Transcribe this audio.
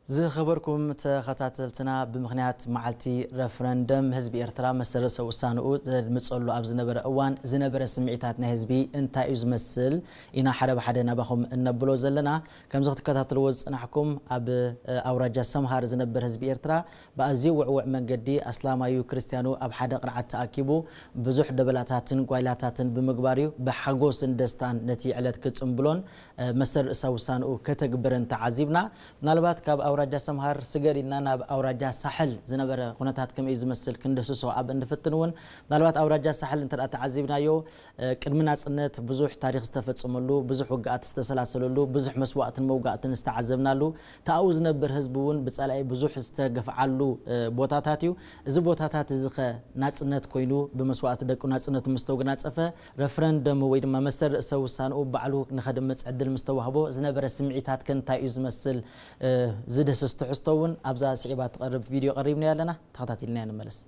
ዝኸበርኩም ተኸታተልትና፣ ብምኽንያት መዓልቲ ረፍረንደም ህዝቢ ኤርትራ መሰል ርእሰ ውሳንኡ ዘድምጸሉ ኣብ ዝነበረ እዋን ዝነበረ ስምዒታት ናይ ህዝቢ እንታይ እዩ ዝመስል ኢና ሓደ ብሓደ ናባኹም እነብሎ ዘለና። ከምዚ ክትከታተልዎ ዝጽናሕኩም ኣብ ኣውራጃ ሰምሃር ዝነብር ህዝቢ ኤርትራ ብኣዝዩ ውዕውዕ መንገዲ ኣስላማዩ ክርስትያኑ ኣብ ሓደ ቅርዓት ተኣኪቡ ብዙሕ ደበላታትን ጓይላታትን ብምግባር እዩ ብሓጎስን ደስታን ነቲ ዕለት ክጽንብሎን መሰል ርእሰ ውሳንኡ ከተግብርን ተዓዚብና። ምናልባት ካብ ኣውራጃ ሰምሃር ስገር ኢልና ናብ ኣውራጃ ሳሕል ዝነበረ ኩነታት ከመይ ዝመስል ክንድህስሶ ኣብ እንፍትን እውን ምናልባት ኣውራጃ ሳሕል እንተ ተዓዚብናዮ ቅድሚ ናጽነት ብዙሕ ታሪኽ ዝተፈጸመሉ፣ ብዙሕ ውግኣት ዝተሰላሰለሉ፣ ብዙሕ መስዋእትን መውጋእትን ዝተዓዘብናሉ፣ ተኣኡ ዝነብር ህዝቢ እውን ብጸላኢ ብዙሕ ዝተገፍዓሉ ቦታታት እዩ። እዚ ቦታታት እዚ ከ ናጽነት ኮይኑ ብመስዋእቲ ደቁ ናጽነቱ ምስ ተጎናጸፈ፣ ረፍረንደም ወይ ድማ መሰል ርእሰ ውሳንኡ ባዕሉ ንኸድምጽ ዕድል ምስ ተዋህቦ ዝነበረ ስምዒታት ከ እንታይ እዩ ዝመስል? ዝድህስስ ትሕዝቶ እውን ኣብዛ ስዒባ ትቐርብ ቪድዮ ቀሪብናዮ ኣለና። ተኸታቲልናዮ ንመለስ።